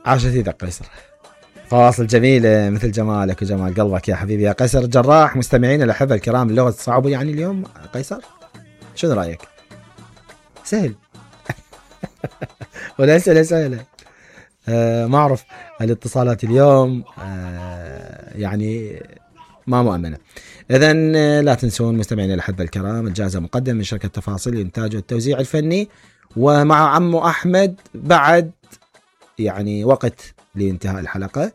عاشت يدك قيصر، فواصل جميلة مثل جمالك وجمال قلبك يا حبيبي يا قيصر الجراح. مستمعين الأحبة الكرام، اللغة صعبة يعني اليوم قيصر، شنو رأيك؟ سهل ولا أسئلة سهلة؟ ما أعرف الاتصالات اليوم يعني ما مؤمنة. إذن لا تنسون مستمعين الأحبة الكرام، الجائزة مقدمة من شركة تفاصيل الإنتاج والتوزيع الفني، ومع عمو أحمد بعد يعني وقت لانتهاء الحلقة.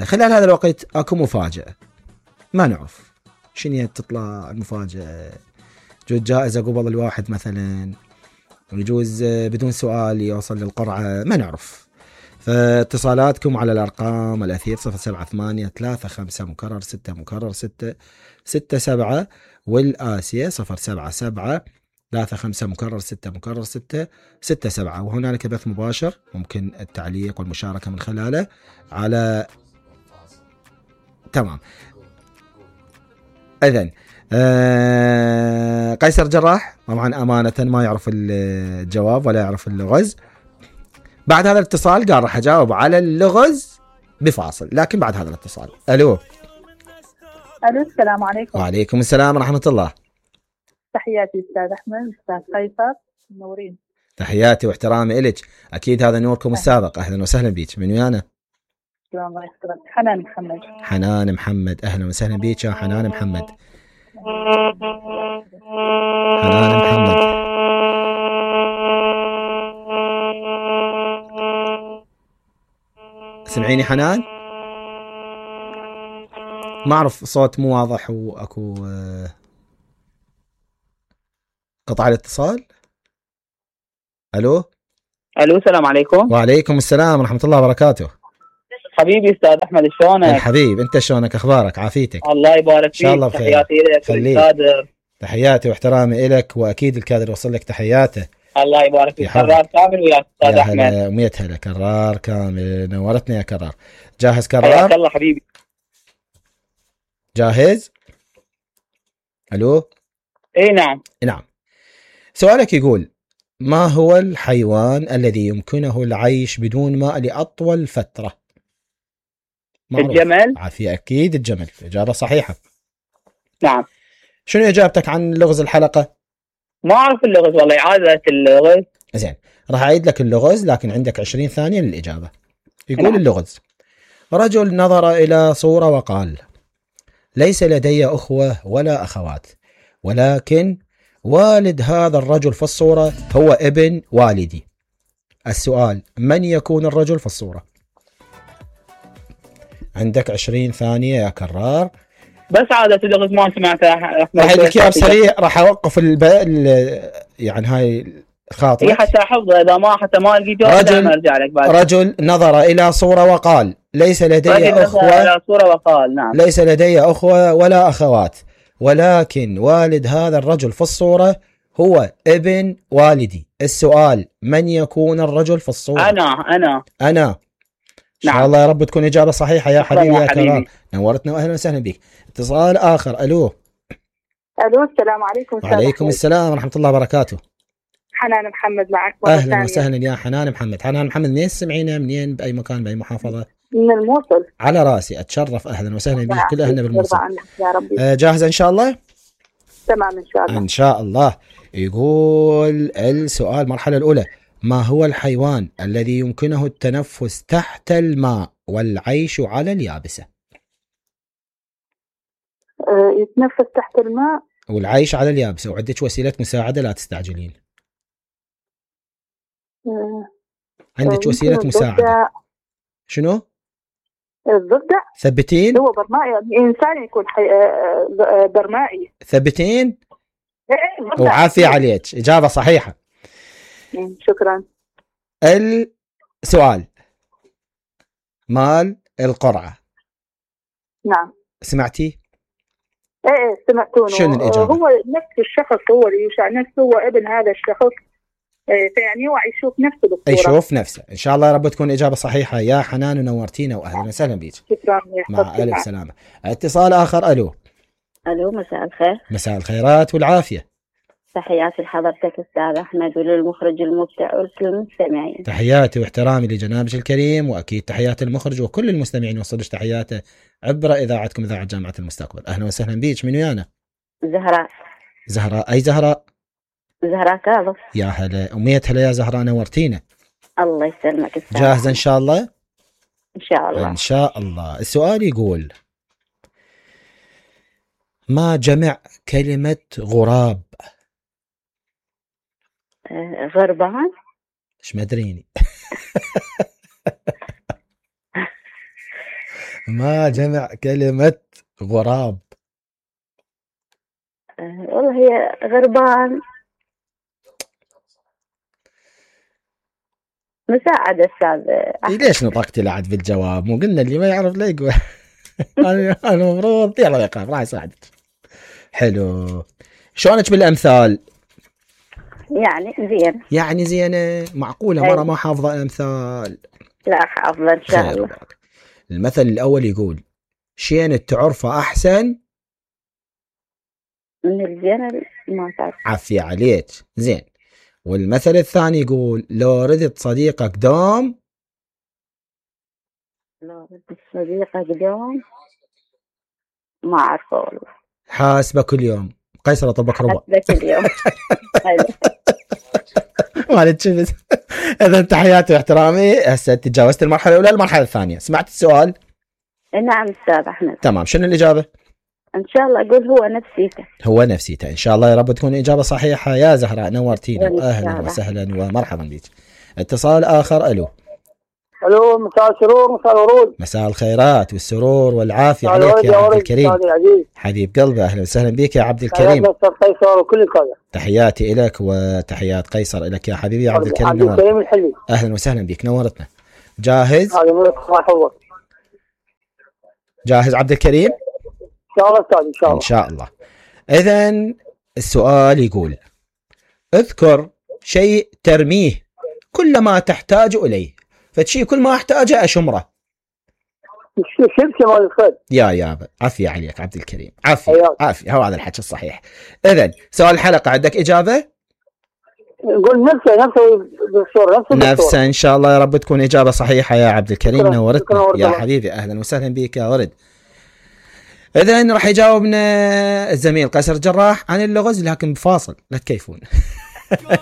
خلال هذا الوقت اكو مفاجأة، ما نعرف شنو تطلع المفاجأة. يجوز جائزة قبل الواحد مثلا، ويجوز بدون سؤال يوصل للقرعة، ما نعرف. فاتصالاتكم على الأرقام الأثير 078-35-6-6-7 والآسية 077-35-6-6-7. وهنالك بث مباشر ممكن التعليق والمشاركة من خلاله على تمام. إذن قيصر جراح طبعا أمانة ما يعرف الجواب ولا يعرف اللغز. بعد هذا الاتصال قال راح أجاوب على اللغز بفاصل، لكن بعد هذا الاتصال. ألو السلام عليكم. وعليكم السلام ورحمة الله. تحياتي أستاذ أحمد، أستاذ قيصر، منورين. تحياتي واحترامي إلك، أكيد هذا نوركم السابق. أهلا وسهلا بيك. من ويانا؟ الله يحفظك. حنان محمد. حنان محمد، أهلا وسهلا بيك يا حنان محمد. حنان محمد سمعيني حنان؟ ما أعرف صوت مو واضح وأكو قطع الاتصال. ألو السلام عليكم. وعليكم السلام ورحمة الله وبركاته. حبيبي أستاذ أحمد، شلونك؟ الحبيب أنت شلونك؟ أخبارك؟ عافيتك؟ الله يبارك فيك. إن شاء الله بخير. تحياتي لك والكادر. تحياتي واحترامي لك، وأكيد الكادر وصل لك تحياته. الله يبارك فيك. كرار كامل وياك أستاذ أحمد. 100 هلا. كرار كامل، نورتني يا كرار. جاهز كرار؟ حياك الله حبيبي. جاهز؟ ألو؟ إيه نعم. سؤالك يقول: ما هو الحيوان الذي يمكنه العيش بدون ماء لأطول فترة؟ معروف. الجمل. عافية، أكيد الجمل. إجابة صحيحة. نعم. شنو إجابتك عن لغز الحلقة؟ ما أعرف اللغز والله، إعادة اللغز. زين، راح أعيد لك اللغز لكن عندك 20 ثانية للإجابة. يقول نعم. اللغز: رجل نظر إلى صورة وقال: ليس لدي أخوة ولا أخوات، ولكن والد هذا الرجل في الصورة هو ابن والدي. السؤال: من يكون الرجل في الصورة؟ عندك 20 ثانية يا كرار. بس عادة اللغز ما سمعتها. راح أديك إياه بسريع، راح أوقف يعني هاي خاطر. هي حتى حفظه، إذا ما لقيت جواب أرجع لك بعد. رجل نظر إلى صورة وقال: ليس لدي أخوة. إلى صورة وقال نعم. ليس لدي أخوة ولا أخوات، ولكن والد هذا الرجل في الصورة هو ابن والدي. السؤال: من يكون الرجل في الصورة؟ أنا. إن شاء الله يا رب تكون إجابة صحيحة يا حبيبي يا كرام. نورتنا وأهلا وسهلا بك. اتصال آخر. ألو. السلام عليكم. وعليكم السلام ورحمة الله وبركاته. حنان محمد معك. أهلا وسهلا يا حنان محمد. حنان محمد، منين تسمعينا؟ منين؟ بأي مكان؟ بأي محافظة؟ من الموصل. على راسي، أتشرف. أهلا وسهلا بك. كل أهلنا بالموصل. يا ربي. جاهزة إن شاء الله؟ تمام إن شاء الله. إن شاء الله. يقول السؤال المرحلة الأولى: ما هو الحيوان الذي يمكنه التنفس تحت الماء والعيش على اليابسة؟ يتنفس تحت الماء والعيش على اليابسة، وعندك وسيلة مساعدة، لا تستعجلين. عندك وسيلة مساعدة. شنو؟ الضفدع. ثبتين؟ هو برمائي، إنسان يكون برمائي. ثبتين؟ وعافية عليك، إجابة صحيحة. شكرا. السؤال مال القرعة. نعم. سمعتي؟ ايه سمعتونه. شنو الإجابة؟ هو نفس الشخص، هو اللي يشاع نفسه، هو ابن هذا الشخص. يعني هو يشوف نفسه بالصورة. يشوف نفسه. إن شاء الله يا رب تكون إجابة صحيحة يا حنان، ونورتينا وأهلا وسهلا بيك. شكرا. مع ألف سلامة. اتصال آخر. ألو. مساء الخير. مساء الخيرات والعافية. تحياتي لحضرتك أستاذ أحمد وللمخرج المبدع ولكل المستمعين. تحياتي واحترامي لجنابك الكريم، وأكيد تحيات المخرج وكل المستمعين وصلش تحياته عبر إذاعتكم إذاعة جامعة المستقبل. أهلا وسهلا بيك. من ويانا؟ زهراء. زهراء. أي زهراء؟ زهراء كاظم. يا هلا ومية هلا يا زهراء، نورتينا. الله يسلمك أستاذ. جاهزة إن شاء الله؟ إن شاء الله. إن شاء الله. السؤال يقول: ما جمع كلمة غراب؟ غربان. إيش مدريني. ما جمع كلمة غراب؟ والله هي غربان. مساعدة أستاذ. ليش نطقتي لعد في الجواب؟ مو قلنا اللي ما يعرف لا يقول. أنا المفروض يلا يقرأ راح يساعدك. حلو. شلونك بالأمثال؟ يعني زين. يعني زينة. معقولة مرة ما حافظة أمثال؟ لا حافظة إن شاء الله. المثل الأول يقول: شين تعرفه أحسن من الزين ما تعرف. عافية عليك. زين. والمثل الثاني يقول: لو ردت صديقك دوم. لو ردت صديقك دوم ما أعرفه والله. حاسبة كل يوم. قيصر طبك ربع. حاسبة كل يوم. مالك شفت. إذا تحياتي واحترامي. هسه تجاوزت المرحلة الأولى. المرحلة الثانية سمعت السؤال؟ نعم أستاذ أحمد. تمام. شنو الإجابة؟ إن شاء الله أقول هو نفسيته. هو نفسيته. إن شاء الله يا رب تكون إجابة صحيحة يا زهراء. نورتينا وأهلا وسهلا ومرحبا بك. اتصال آخر. ألو. الو. مساء السرور مساء الورود. مساء الخيرات والسرور والعافية عليك يا عبد الكريم. حبيب قلبي. أهلا وسهلا بك يا عبد الكريم. قيصر وكل القادة. تحياتي إلك وتحيات قيصر إلك يا حبيبي يا عبد الكريم. عبد الكريم الحلي. أهلا وسهلا بك. نورتنا. جاهز؟ جاهز عبد الكريم؟ إن شاء الله أستاذ. إن شاء الله. إن شاء الله. إذن السؤال يقول: اذكر شيء ترميه كل ما تحتاج إليه. فشيء كل ما أحتاجه أشمره. شبكة مال الخير. يا عافية عليك عبد الكريم. عافية. هو هذا الحكي الصحيح. إذن سؤال الحلقة عندك إجابة؟ نقول نفسه بالصورة. نفسه إن شاء الله يا رب تكون إجابة صحيحة يا عبد الكريم. نورتنا يا حبيبي. أهلا وسهلا بك يا ورد. إذن راح يجاوبنا الزميل قيصر الجراح عن اللغز، لكن بفاصل لا تكيفون.